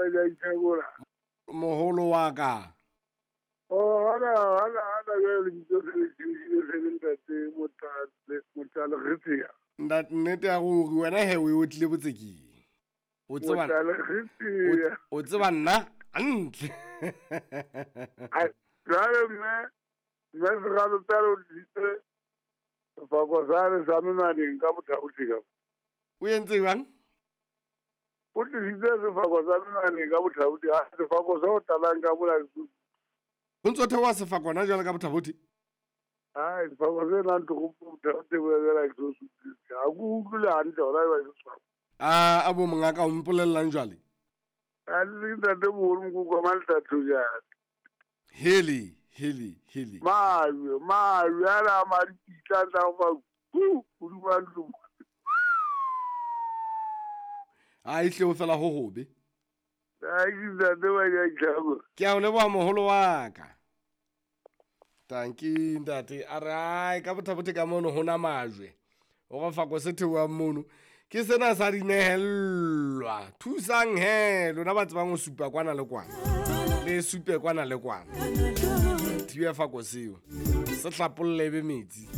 ba ithakola. Moholo wa ka. Oh, hana hana hana jwale lebitso se le tjhentjhile se le ntate Motale Motale Retsia. Ntate nnete ya ruri wena he o e otlile botsekeng. O tseba Motale Retsia. o tseba nna hantle. Ai, jwale mme mme Seralo Pele o tlisitse sefako sane sa menwaneng ka Bothabothi ka. O entse jwang? O tlisitse sefako sa menwaneng ka Bothabothi, ha sefako se o talang ka mola. Ho ntso theoha sefako hona jwale ka Bothabothi? Ai, sefako se nang toropo Bothabothi bo ela ke so sutlise. Ha ke utlwile hantle hona eba ke sefako. A a bo mongaka o mpolellang jwale? A le ntate moholo mokoko wa Maltatso jana. Heli, heli, heli. Majwe, majwe ana a madipitla a tla go fa ku hodima ntlo. A ehlile ho fela ho hobe. Ai, ke ntate wa ya itlhako. Ke a o leboha moholo wa ka. Tanki ntate a re ai ka Bothabothi ka mono ho na majwe. O re fako se theohang mono. Ke sena sa dinehellwa. Thusang he lona ba tsebang ho supa kwana le kwana. Le supe kwana le kwana. Thibe fako seo. Se hlapolle be metsi.